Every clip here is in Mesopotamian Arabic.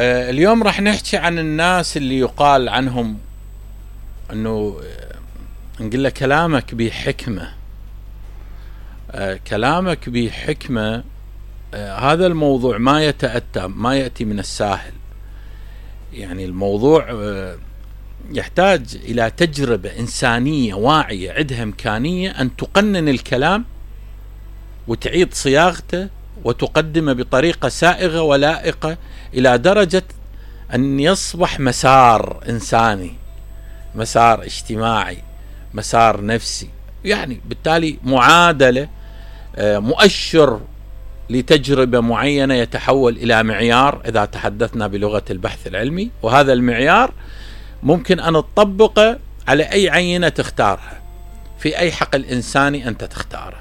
اليوم راح نحكي عن الناس اللي يقال عنهم انه نقول له كلامك بحكمة. كلامك بحكمة. هذا الموضوع ما يتأتى، ما يأتي من الساهل. يعني الموضوع يحتاج إلى تجربة إنسانية واعية عندها إمكانية أن تقنن الكلام وتعيد صياغته وتقدمه بطريقة سائغة ولائقة إلى درجة أن يصبح مسار إنساني، مسار اجتماعي، مسار نفسي. يعني بالتالي معادلة، مؤشر لتجربة معينة يتحول إلى معيار إذا تحدثنا بلغة البحث العلمي، وهذا المعيار ممكن أن تطبقه على أي عينة تختارها في أي حقل إنساني أنت تختاره.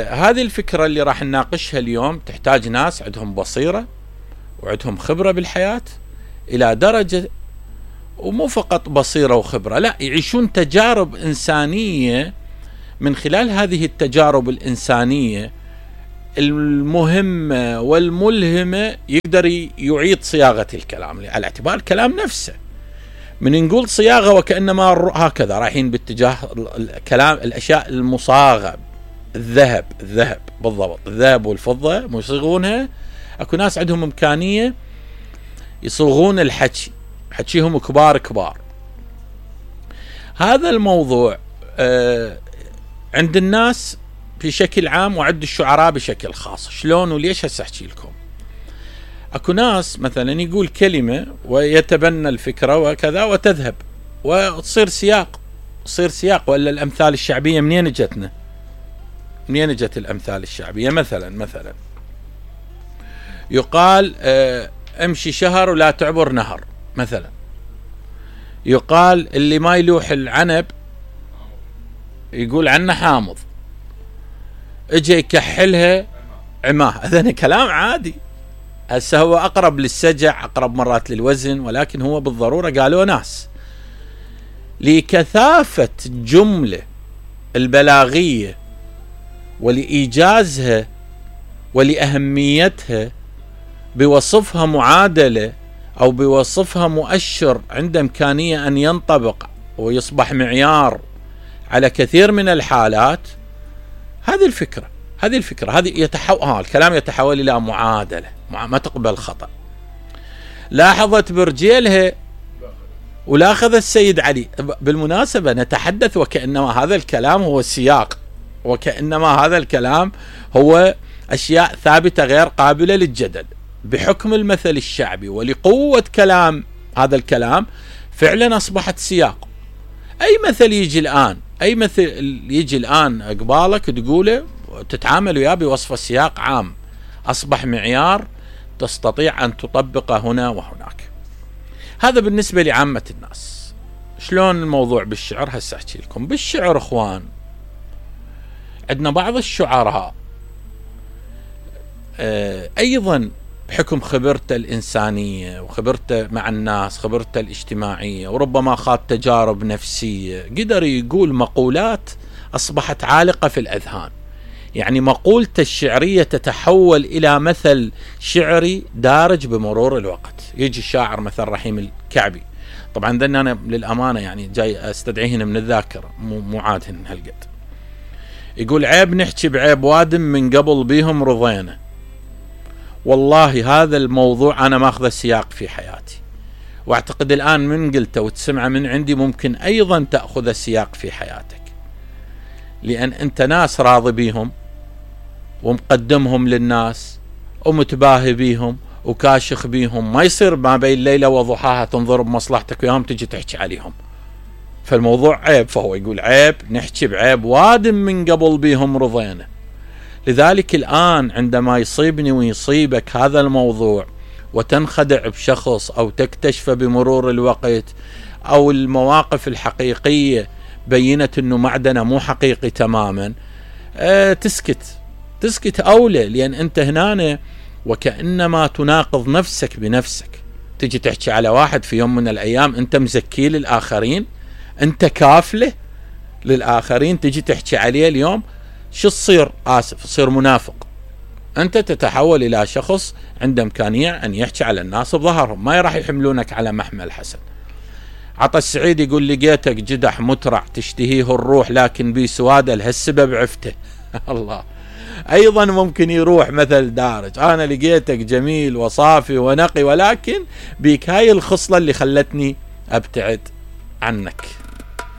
هذه الفكرة اللي راح نناقشها اليوم تحتاج ناس عندهم بصيرة وعندهم خبرة بالحياة إلى درجة، ومو فقط بصيرة وخبرة، لا، يعيشون تجارب إنسانية. من خلال هذه التجارب الإنسانية المهمة والملهمة يقدر يعيد صياغة الكلام على اعتبار الكلام نفسه. من نقول صياغة وكأنما هكذا رايحين باتجاه الكلام، الأشياء المصاغة، الذهب بالضبط، الذهب والفضة يصيغونها. اكو ناس عندهم إمكانية يصوغون الحكي، حكيهم كبار. هذا الموضوع عند الناس بشكل عام وعند الشعراء بشكل خاص. شلون وليش؟ هسه احكي لكم. اكو ناس مثلا يقول كلمة ويتبنى الفكرة وكذا وتذهب وتصير سياق، ولا الأمثال الشعبية منين جتنا؟ منين جت الأمثال الشعبية؟ مثلا يقال امشي شهر ولا تعبر نهر. مثلا يقال اللي ما يلوح العنب يقول عنه حامض، اجي يكحلها عماه. هذا كلام عادي، هسه هو أقرب للسجع، أقرب مرات للوزن، ولكن هو بالضرورة قالوا ناس لكثافة الجملة البلاغية ولإيجازها ولأهميتها بوصفها معادلة أو بوصفها مؤشر عنده إمكانية أن ينطبق ويصبح معيار على كثير من الحالات. هذه الفكرة هذه الكلام يتحول إلى معادلة ما تقبل خطأ. لاحظت برجيلها ولا أخذ السيد علي. بالمناسبة نتحدث وكأنما هذا الكلام هو السياق، وكأنما هذا الكلام هو أشياء ثابتة غير قابلة للجدل. بحكم المثل الشعبي ولقوة كلام هذا الكلام فعلا أصبحت سياق. أي مثل يجي الآن قبالك تقوله تتعامل وياه بوصف السياق عام، أصبح معيار تستطيع أن تطبقه هنا وهناك. هذا بالنسبة لعامة الناس. شلون الموضوع بالشعر؟ هسه أحكي لكم. بالشعر إخوان عندنا بعض الشعراء أيضا بحكم خبرته الإنسانية وخبرته مع الناس، خبرته الاجتماعية، وربما خاض تجارب نفسية، قدر يقول مقولات أصبحت عالقة في الأذهان. يعني مقولته الشعرية تتحول إلى مثل شعري دارج بمرور الوقت. يجي الشاعر مثل رحيم الكعبي، طبعا ذن أنا للأمانة يعني جاي أستدعيهن من الذاكرة، مو عادهن هالقد. يقول عيب نحكي بعيب وادم من قبل بيهم رضينا. والله هذا الموضوع أنا ماخذ السياق في حياتي، واعتقد الآن من قلته وتسمع من عندي ممكن أيضا تأخذ السياق في حياتك، لأن أنت ناس راضي بيهم ومقدمهم للناس ومتباهي بيهم وكاشخ بيهم. ما يصير ما بين ليلة وضحاها تنظر بمصلحتك وياهم تجي تحكي عليهم، فالموضوع عيب. فهو يقول عيب نحكي بعيب وادم من قبل بيهم رضينا. لذلك الآن عندما يصيبني ويصيبك هذا الموضوع وتنخدع بشخص أو تكتشف بمرور الوقت أو المواقف الحقيقية بينت أنه معدنه مو حقيقي تماما، تسكت أولى، لأن أنت هنا وكأنما تناقض نفسك بنفسك. تجي تحكي على واحد في يوم من الأيام أنت مزكي للآخرين، أنت كافله للآخرين، تجي تحكي عليه اليوم شو تصير؟ آسف، تصير منافق. أنت تتحول إلى شخص عنده إمكانية أن يحكي على الناس بظهرهم، ما راح يحملونك على محمل حسن. عطا السعيد يقول لقيتك جدح مترع تشتهيه الروح لكن بي سوادة لهالسبب عفته. الله. أيضا ممكن يروح مثل دارج، أنا لقيتك جميل وصافي ونقي ولكن بيك هاي الخصلة اللي خلتني أبتعد عنك.